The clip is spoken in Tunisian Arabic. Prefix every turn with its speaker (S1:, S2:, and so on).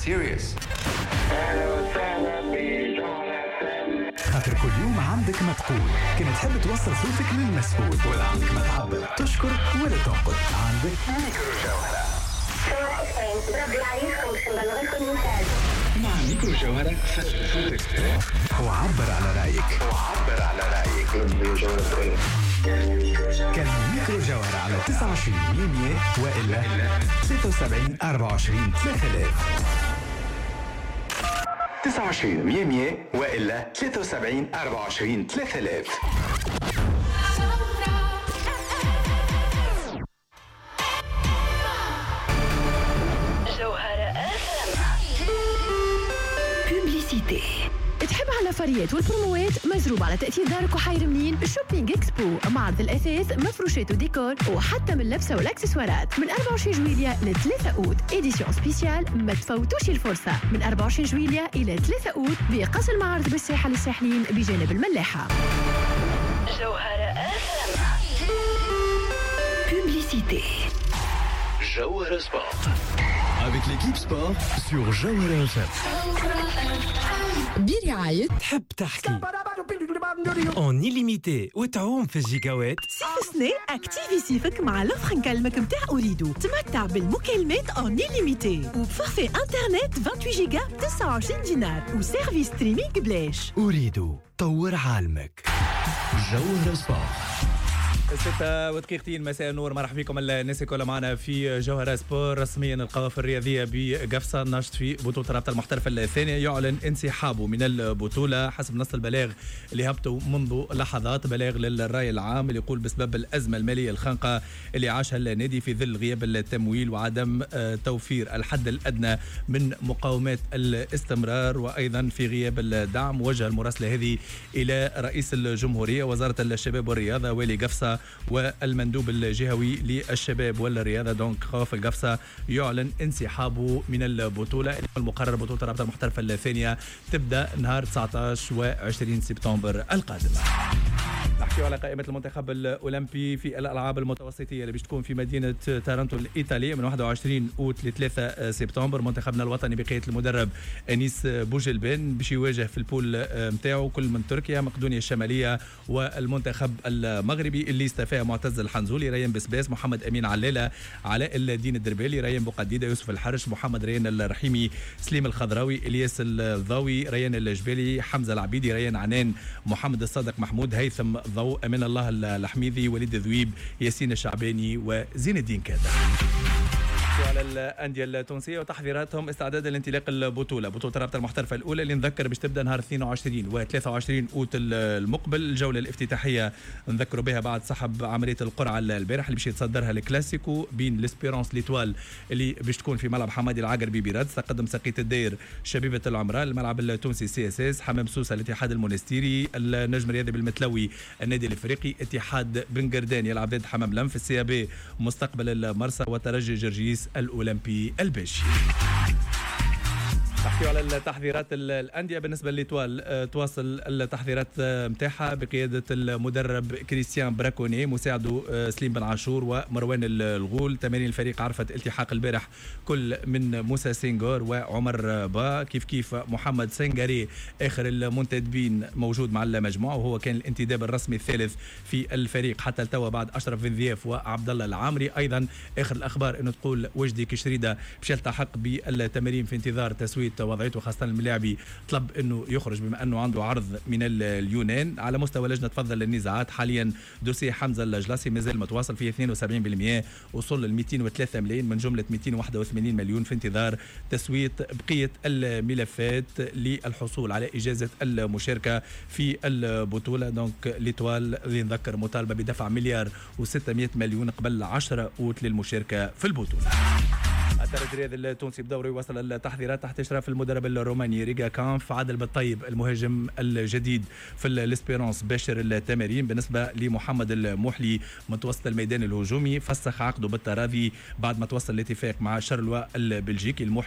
S1: Serious.
S2: خاطر كل يوم عندك ما تقول، كان تحب توصل صوتك للمسؤول ولا عندك ما تعبر، تشكر ولا تنقد، عندك ميكرو جوهرة. مع ميكرو جوهرة سجل صوتك وعبر على رأيك. وعبر على رأيك. كلموا ميكرو جوهرة على 29 100 وإلا 73 24 3000. 29 100 وإلا 73 24 3000.
S3: جوهرة Publicité.
S4: تحب على الفريات والبروموات مزروب على تأثير دارك وحير منين؟ Shopping Expo، معرض الأثاث، مفروشات وديكور وحتى من اللبسة والاكسسوارات، من 24 جويليا ل 3 أوت، édition spéciale، ما تفوتوش الفرصة، من 24 جويليا إلى 3 أوت بقصر المعارض بالساحة للساحلين بجانب الملاحة.
S3: جوهرة Publicité.
S5: جوهرة Sport. Avec l'équipe sport sur Jawhara FM.
S4: برعاية
S6: تحب تحكي en illimité وتعوم في الجيجاوات.
S7: صيف سنة activi صيفك مع l'offre نكلمك متاع أوريدو، تمتع بالمكالمات en illimité وب forfait internet 28 جيجا ب 29 دينار و service streaming بلاش.
S5: أوريدو طور عالمك. جوهرة Sport.
S8: 6:02 مساء النور، مرحبا بكم الناس الكل معنا في جوهرة Sport. رسميا القوافل الرياضية بقفصة نشط في بطولة الرابطة المحترفة الثانية يعلن انسحابه من البطولة حسب نص البلاغ اللي هبطوا منذ لحظات، بلاغ للرأي العام اللي يقول بسبب الأزمة المالية الخانقة اللي عاشها النادي في ظل غياب التمويل وعدم توفير الحد الأدنى من مقاومات الاستمرار وأيضا في غياب الدعم. وجه المراسلة هذه إلى رئيس الجمهورية، وزارة الشباب والرياضة، والي قفصة والمندوب الجهوي للشباب والرياضة. donc قوافل قفصة يعلن انسحابه من البطولة. المقرر بطولة الرابطة المحترفة الثانية تبدأ نهار 19 و20 سبتمبر القادم. نحكي على قائمة المنتخب الأولمبي في الألعاب المتوسطية اللي باش تكون في مدينة تارانتو الإيطالية من 21 أوت ل 3 سبتمبر. منتخبنا الوطني بقيادة المدرب أنيس بوجلبان باش يواجه في ال poule نتاعو كل من تركيا، مقدونيا الشمالية والمنتخب المغربي اللي استفاه معتز الحنزولي، ريان بسباس، محمد أمين علالة، علاء الدين الدربالي، ريان بوقديدة، يوسف الحرش، محمد ريان الرحيمي، سليم الخضراوي، إلياس الضاوي، ريان الجبالي، حمزة العبيدي، ريان عنان، محمد الصادق محمود، هيثم ضوء، أمان الله الحميدي، وليد ذويب، ياسين الشعباني وزين الدين كادر. على الأندية التونسية وتحضيراتهم استعدادا لانطلاق البطولة، بطولة الرابطة المحترفة الأولى اللي نذكر باش تبدأ نهار 22 و 23 أوت المقبل. الجولة الافتتاحية نذكروا بها بعد سحب عملية القرعة البارح اللي باش يتصدرها الكلاسيكو بين l'Espérance l'Étoile اللي باش تكون في ملعب حمادي العقربي برادس، تقدم سقية الدير شبيبة العمراء، الملعب التونسي CSS، حمام سوسة الاتحاد المونستيري، النجم الرياضي بالمتلوي النادي الافريقي، اتحاد بن قردان يلعب ضد حمام لنف، ال CAB مستقبل المرسى وترجي جرجيس الأولمبي الباجي. نحكي على التحضيرات الأندية. بالنسبة ل l'Étoile تواصل التحضيرات متاعها بقيادة المدرب كريستيان براكوني، مساعدة سليم بن عاشور ومروان الغول. تمارين الفريق عرفت التحاق البارح كل من موسى سينغور وعمر با، كيف كيف محمد سنغاري آخر المنتدبين موجود مع المجموعة وهو كان الانتداب الرسمي الثالث في الفريق حتى التوا بعد أشرف بن ضياف وعبد الله العامري. أيضا آخر الأخبار أنه تقول وجدي كشريدة باش يلتحق بالتمارين في انتظار تسوية وضعيته، خاصة الملاعبي طلب انه يخرج بما انه عنده عرض من اليونان. على مستوى لجنة تفضل للنزاعات حاليا dossier حمزة الجلاسي مازال متواصل فيه 72%، وصل ل 203 ملايين من جملة 281 مليون في انتظار تسوية بقية الملفات للحصول على إجازة المشاركة في البطولة. donc l'Étoile اللي نذكر مطالبة بدفع 1,6 مليار قبل 10 أوت للمشاركة في البطولة. الترجي الرياضي التونسي بدوره يواصل التحضيرات تحت اشراف المدرب الروماني ريغا كانف. عادل بالطيب المهاجم الجديد في l'Espérance باشر التمارين. بالنسبة لمحمد الموحلي متوسط الميدان الهجومي فسخ عقده بالتراضي بعد ما توصل الاتفاق مع شارلوا البلجيكي. الموحلي